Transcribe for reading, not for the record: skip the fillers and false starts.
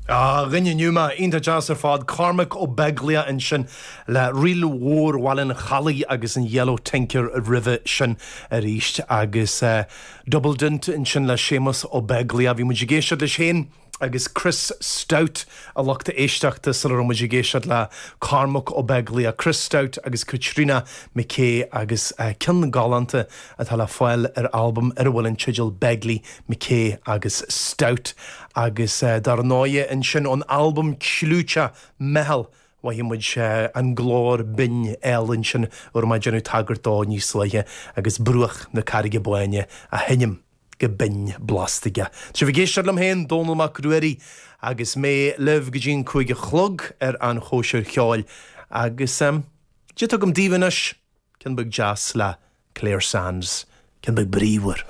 A dhuine inniu mé, iontach deas ar fad, Cormac Ó Beaglaoich ansin le Ríl Mhór Bhaile an Chalaidh agus an Yellow Tinker roimhe sin arís agus Dubldint ansin le Séamus Ó Beaglaoich. Bhí muid ag éisteacht leis féin agus Chris Stout a lucht éisteachta sula raibh muid ag éisteacht le Cormac Ó Beaglaoich, Chris Stout agus Caitríona McKay agus ceann galánta atá le fáil ar albam ar a bhfuil an teideal Begley, McKay agus Stout agus dar ndóighe ansin ón albam clúiteach Meitheal mhothaigh muid an glór binn álainn sin a raibh mé ag déanamh tagairt dó níos luaithe agus Bruach na Carraige Báine á sheinm go binn blasta aige. Tá sibh ag éisteacht liom féin, Dónall Mac Ruairí, agus mé libh go dtí an 5 a chlog ar an Chóisir Cheoil agus cad atá agam daoibh anois, ceann beag deas le Clare Sands, ceann beag bríomhar.